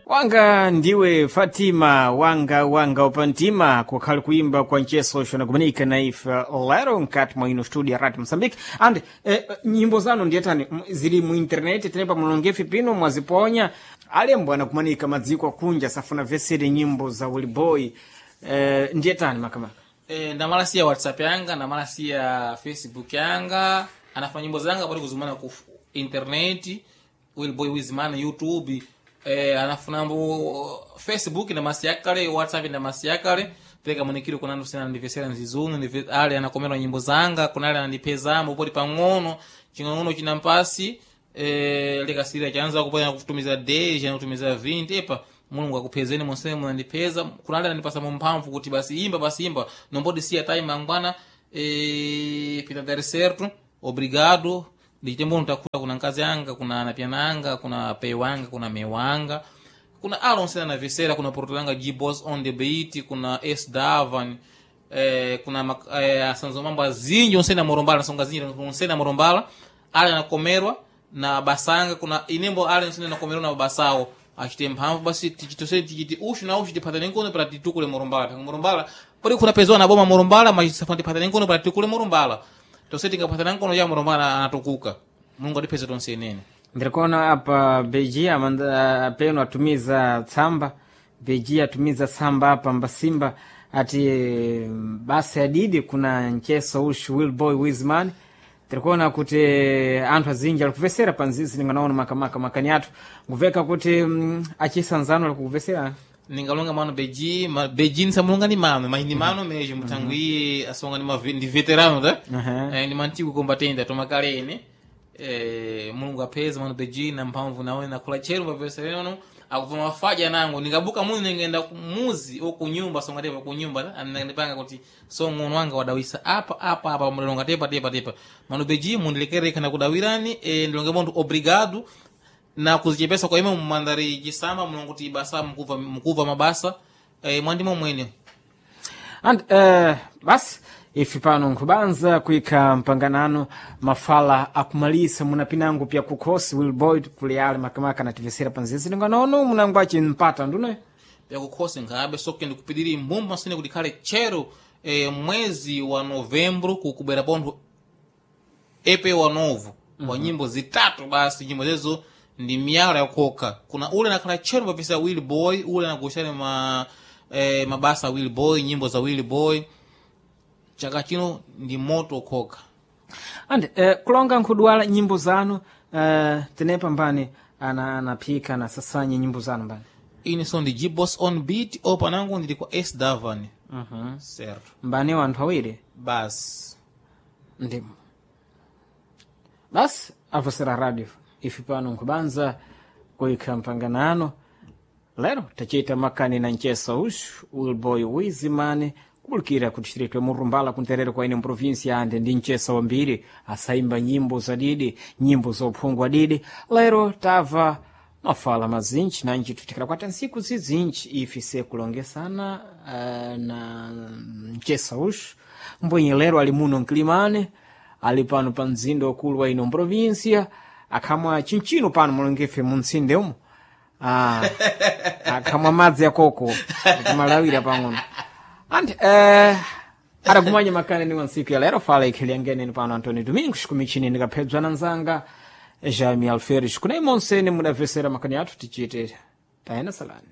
Wanga ndiwe Fatima, wanga wanga upantima, kukhali kuimba kwa ncheso xonakumanika na ife lero nkati mwa ino studio ya Radio Mozambique. And nyimbo zanu ndiyetani zili mu internet tenepa mulongefi pino mwaziponya alembo anakumanika madziko akunja safuna vesere nyimbo za Wilboy, ndiyetani makamaka? Ndamala siya WhatsApp yanga, ndamala siya Facebook yanga, anafanya nyimbo zanga pali kuzumana ku internet Wilboy Wizman YouTube, anafunambo Facebook ndamasiya kale, WhatsApp ndamasiya kale, pereka munikiro kuna sena ndivesera nzizunu ale anakomerwa nyimbo zanga, kuna ale anandipezamo poti pang'ono ching'ono chinampasi, likasira chanza kupanya kutumiza 10 chana kutumiza 20. Epa, Mulungu akuphezeni monse munandipeza. Kuna ale anandipasa mumphamvu kuti basi imba, basi imba, nombodi siya time angwana, pita dar certo. Obrigado. Ndichitembo ntakula kuna nkazi anga, kuna anapyana anga, kuna pei wanga, kuna me wanga, kuna alonse anavesera, kuna portolanga G-Boss on the beat, kuna S Davan, kuna asanzo mambo azinji onse na morombala nasonga zinji onse na morombala ale anakomerwa na basanga, kuna inembo ale onse anakomerwa na basawo achite mphamvu basi tichitose tichiti ushu na ushu tipatane nkono para titukule morombala. Morombala pali kuna pezwa na boma morombala machisafana tipatane nkono para titukule morombala tose tingapatana nkono ya morombala anatukuka. Mulungu atipeze tonse inene. Ndirikuona apa Beji amanda peno atumiza tsamba, Beji atumiza tsamba apa mbasimba ati basi adidi kuna ncheso ushu Wilboy Wizman. Tirikuona kuti anthu azinji alikuvesera pa nzizi ninganaona makamaka makani athu nguveka kuti achisanzano alikuvesera. Ningalonga mano Beji, Beji nisamulonga ni mano mas ni mano mesmo mutangu iye asonga ni ndi veterano ta. Ni mantigo combatente atomakale ine, Mulungu apeza mano Beji na mphamvu nawe nakula chero pavesereno akubva mafaja nango ningabuka muzi ningenda kumuzi o kunyumba songa tepa kunyumba ta andipanga kuti so ng'ono wanga wadawisa apa apa apa mulonga tepa tepa tepa mano Beji mundilekere kana kudawirani, ndilonge monthu obrigado na kuzichepesa kwa ime mumandari chisamba mulongo kuti basa mukuva mukuva mabasa, mwandimo mwene. And basi ife pano nkhubanza kuikha mpanganano mafala akumalisa munapinango pya kukhosi Wilboy kuli ale makamaka anativesera pa nzizi ninganaono munango achimpata ndune. Pyakukhosi nkhabe soke ndikupidiri mbumba sine kuti khale tchero, mwezi wa Novembro kukubwera pontho epe wa novo wa nyimbo zitatu basi. Nyimbo zezo ndi miyala yakhoka. Kuna ule nakhala tchero papisa Will Boy ule anagushani mabasa Will Boy, nyimbo za Will Boy chaka chino ndi moto khoka. And kulonga nkhudwala nyimbo zanu, tenepa mbani anaphika anasasanya nyimbo zanu mbani? Ine so ndi G-Boss on beat o panango ndili kwa S Davan. Certo. Mbani wanthu awiri. Basi. Ndimo basi avosera radio ife pano nkhubanza kuikha mpanganano lero tachita makani na ncheso ushu Wilboy Wizimane kubulikira ku distrito ya Murumbala kunterere kwa ine mprovinsia ande ndi ncheso wambiri asaimba nyimbo zadidi, nyimbo zophungwa didi. Lero tava mafala mazinji nanji tutikira kwata nsiku zizinji ife sekulongesana na ncheso ushu mbwenye lero ali muno mkilimane, ali pano pa mzinda wakulu wa ino mprovinsia akhamwa chinchino pano mulongefe muntsinde umo. Akhamwa madzi akoko kumalawira pang'ono and adakumanya makani ni wansiku ya lero fala ikhiliangeneni pano Antônio Domingos kumichini ndikaphedzwa nzanga Jaime Alferes kunai monsene mudavesera makani athu tichite tayena salani.